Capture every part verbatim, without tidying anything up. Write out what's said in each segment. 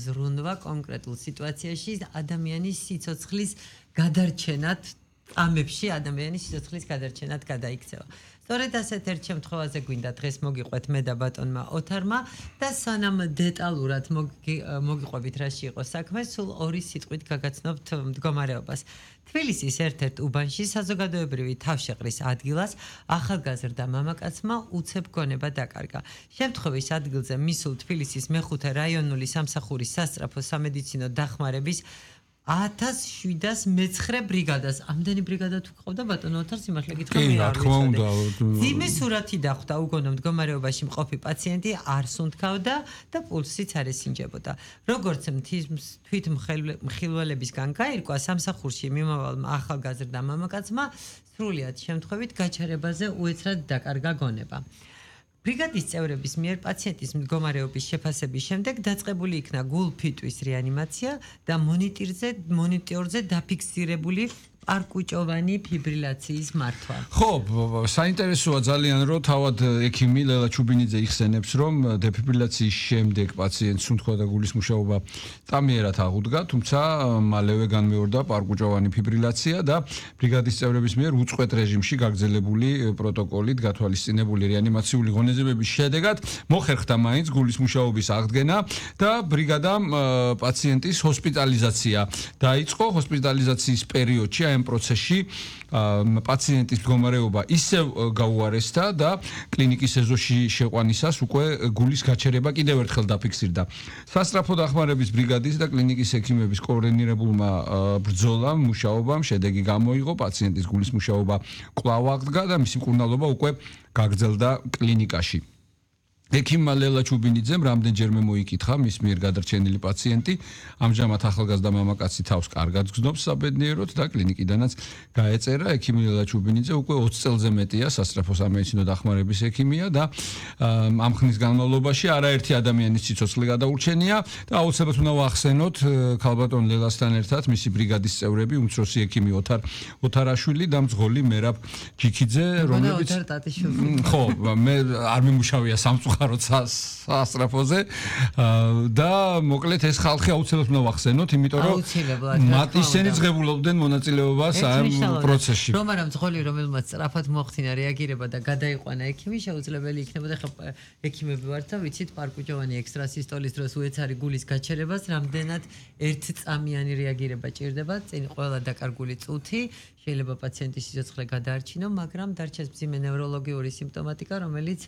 ზრუნვა კონკრეტულ სიტუაციაში ადამიანის სიცოცხლის გადარჩენად ამებში ადამიანის სიცოცხლის გადარჩენად გადაიქცევა. სწორედ ასეთ ერთ შემთხვევაზე გვინდა დღეს მოგიყვეთ მე და ბატონმა ოთარმა და სანამ დეტალურად მოგიყვებით რაში იყო საქმე, სულ ორი სიტყვით გაგაცნობთ მდგომარეობას. თბილისის ერთ-ერთ უბანში საზოგადოებრივი თავშეყრის ადგილას ახალგაზრდა მამაკაცმა უცებ გონება დაკარგა. შემთხვევის ადგილზე მისულ თბილისის მეხუთე რაიონული სამსახურის სასწრაფო სამედიცინო დახმარების ათას შვიდას მეცხრე ბრიგადას. ამდენი ბრიგადა თუ გყავდა ბატონო ოთარ სიმართლე გითხრა მე არ ვიცოდი. ძიმე სურათი დახვდა უგონო მდგომარეობაში მყოფი პაციენტი არ სუნთქავდა და პულსიც არ ესინჯებოდა. როგორც თვითმხილველებისგან გაირკვა, სამსახურში მიმავალმა ახალგაზრდა მამაკაცმა სრულიად შემთხვევით გაჩერებაზე უეცრად დაკარგა გონება. ბრიგადის წევრების მიერ პაციენტის მდგომარეობის შეფასების შემდეგ დაწყებული იქნა გულ-ფიტვის რეანიმაცია და მონიტორზე მონიტორზე დაფიქსირებული პარკუჭოვანი ფიბრილაციის მართვა. ხო, საინტერესოა ძალიან, რომ თავად ექიმი ლელა ჩუბინიძე იხსენებს, რომ დეფიბრილაციის შემდეგ პაციენტს სუნთქვა და გულის მუშაობა წამიერად აღუდგა, თუმცა მალევე განმეორდა პარკუჭოვანი ფიბრილაცია და ბრიგადის წევრების მიერ უწყვეტ რეჟიმში გაგრძელებული პროტოკოლით გათვალისწინებული რეანიმაციული ღონისძიებების შედეგად მოხერხდა მაინც გულის მუშაობის აღდგენა და ბრიგადამ პაციენტის ჰოსპიტალიზაცია დაიწყო. ჰოსპიტალიზაციის პერიოდში ამ პროცესში პაციენტის მდგომარეობა ისევ გაუარესდა და კლინიკის ეზოში შეყვანისას უკვე გულის გაჩერება კიდევ ერთხელ დაფიქსირდა. სასწრაფო დახმარების ბრიგადის და კლინიკის ექიმების კოორდინირებულმა ბრძოლამ, მუშაობამ შედეგი გამოიღო, პაციენტის გულის მუშაობა კვლავ აღდგა და მისი მკურნალობა უკვე გაგრძელდა კლინიკაში. ექიმმა ლელა ჩუბინიძემ რამდენჯერმე მოიკითხა მის მიერ გადარჩენილი პაციენტი, ამჟამად ახალგაზრდა მამაკაცი თავს კარგად გრძნობს საბედნიეროდ და კლინიკიდანაც გაეწერა. ექიმი ლელა ჩუბინიძე უკვე ოცი წელზე მეტია სასწრაფო სამედიცინო დახმარების ექიმია და ამ ხნის განმავლობაში არაერთი ადამიანის სიცოცხლე გადაურჩენია და აუცილებლად უნდა ვახსენოთ ქალბატონ ლელასთან ერთად მისი ბრიგადის წევრები, უმცროსი ექიმი ოთარ ოთარაშვილი და მძღოლი მერაბ ჯიქიძე, რომლებიც ხო, მე არ მიმუშავია სამწუხაროდ სასწრაფოზე და მოკლედ ეს ხალხი აუცილებლად უნდა ვახსენოთ, იმიტომ რომ მათ ისინი ძღებულობდნენ მონაწილეობას ამ პროცესში. რომ არა მძღოლი, რომელმაც სწრაფად მოახდინა რეაგირება და გადაიყვანა ექიმი, შეუძლებელი იქნებოდა ხა ექიმები ვართ და ვიცით პარკუჭოვანი ექსტრასისტოლის დროს უეცარი გულის გაჩერებას რამდენად ერთწამიანი რეაგირება ჭირდება, წინ ყველა დაკარგული წუთი შეიძლება პაციენტის სიცოცხლე გადაარჩინო, მაგრამ დარჩეს მძიმე ნევროლოგიური სიმპტომატიკა, რომელიც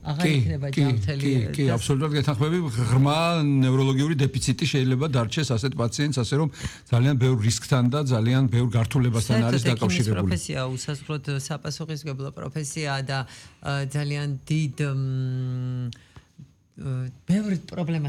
აღარ იქნება ჯანმრთელი. კი, აბსოლუტურად გეთანხმები, ღრმა ნევროლოგიური დეფიციტი შეიძლება დარჩეს ასეთ პაციენტს, ასე რომ ძალიან ბევრ რისკთან და ძალიან ბევრ გართულებასთან არის დაკავშირებული. პროფესია უსასრულოდ საპასუხისმგებლო პროფესიაა და ძალიან დიდ ბევრ პრობლემას